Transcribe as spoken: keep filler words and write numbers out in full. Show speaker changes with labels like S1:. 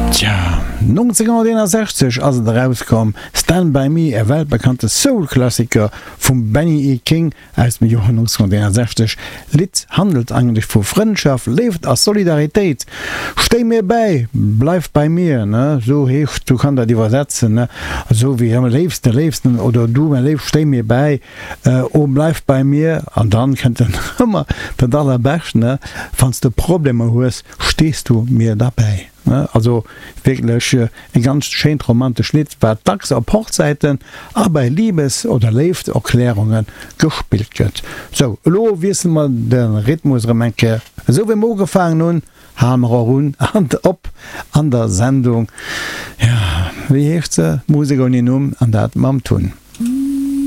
S1: Tja, nonzénghonnerteenasechzeg ass et erauskomm, Stand By Me, e weltbekannte Soul-Klassiker vum Benny E. King aus dem Joer nonzénghonnerteenasechzeg. D'Lidd handelt eigentlech vu Frëndschaft, Léift a Solidaritéit. Stéi mir bäi, bleif bei mir, ne, sou heescht, sou kann dat iwwersetzen, ne, esou wéi am léifsten, léifsten oder du mäi Léif, stéi mir bäi, oh bleif bei mir. An dann kënnt dann ëmmer dat allerbescht, ne, wann s de Problemer hues, stees du mir derbäi. Also wierklech e ganz schéint romantesch Lidd, wat dacks op Hochzäiten a bei Liebes oder Léifterklärunge gespillt gëtt. Sou, elo wiessele mer de Rhythmus erëm eng Kéier. Esou wéi mer ugefaangen hunn, hale mer och un an op an der Sendung. Jo, wéi heescht se? Musek ouni Numm, an dat mam Tun.